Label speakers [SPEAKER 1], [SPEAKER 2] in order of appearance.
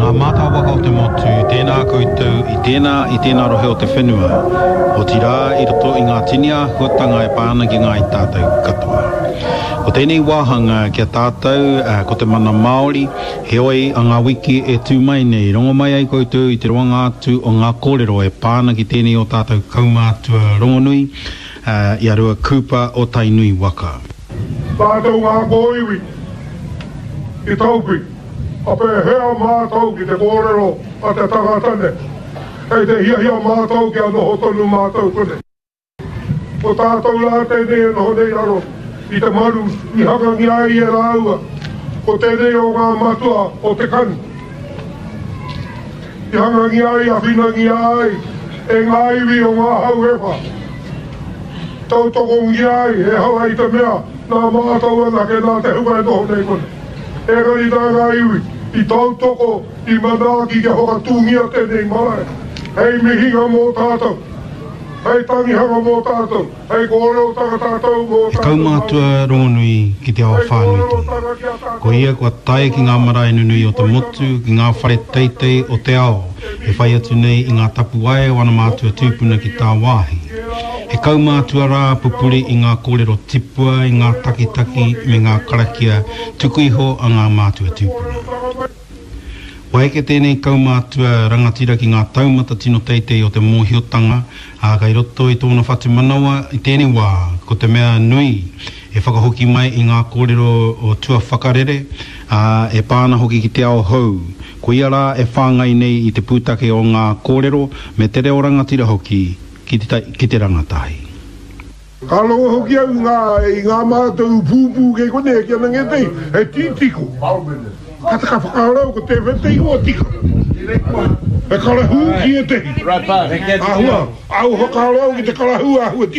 [SPEAKER 1] Ngā mātāwaka o te motu, tēnā koutou i tēnā, i tēnā rohe o te whenua, otirā i roto i ngā tini āhuatanga e pā ana ki ngāi tātou katoa. Ko tēnei wāhanga ki a tātou ko te mana Māori, heoi a ngā wiki e tū mai nei, rongo mai ai koutou i te roanga atu o ngā kōrero e pā ana ki tēnei o tātou kaumātua rongonui, i a Rua Cooper o Tainui waka.
[SPEAKER 2] Tātou ngā kōiwi i Taupi, ka pēhea mātou ki te kōrero a te tangata nei? Kei te hiahia mātou kia noho tonu mātou konei. Ko tātou rā tēnei e noho nei raro i te maru i hangangia ai e rāua, ko tēnei o ngā matua o te kani. I hangangia ai, awhinangia ai e ngā iwi o ngā hau e wha. Tautokongia ai, ehara i te mea nā mātou anake nā te hunga e noho nei konei. Engari nā ngā iwi i tautoko, i manaaki kia whakatūngia tēnei marae hei mihinga mō tātou, hei tangihanga mō tātou. Hei kōrerotanga tātou mō
[SPEAKER 1] He
[SPEAKER 2] tātou
[SPEAKER 1] kaumātua
[SPEAKER 2] Māori.
[SPEAKER 1] rongonui ki te ao
[SPEAKER 2] Hei
[SPEAKER 1] whānui tonu.
[SPEAKER 2] kōrerotanga ki a tātou
[SPEAKER 1] Ko ia kua tae ki ngā marae nunui o te motu, ki ngā whare teitei o te ao, e whai atu nei i ngā tapuwae o ana mātua tūpuna ki tāwāhi. He kaumātua rā pupuri i ngā kōrero tipua, i ngā takitaki me ngā karakia tuku iho a ngā mātua tūpuna. Kua eke tēnei kaumātua rangatira ki ngā taumata tino teitei o te mōhiotanga, ā, kei roto i tōna whatumanawa i tēnei wā, ko te mea nui e whakahoki mai i ngā kōrero o tua whakarere, ā, e pā ana hoki ki te ao hou. Koia rā e whāngai nei i te pūtake o ngā kōrero me te reo rangatira hoki ki te, ki te rangatahi.
[SPEAKER 2] Ka rongo hoki au i ngā, i ngā mātou pūpū kei konei e kī ana ngētehi, he tītiko. Ka, ka whakaaro au ko tēwhea te ingoa tika. He karahū ki ētehi. Āhua, āhua whakaaro au ki te karahū āhua tika.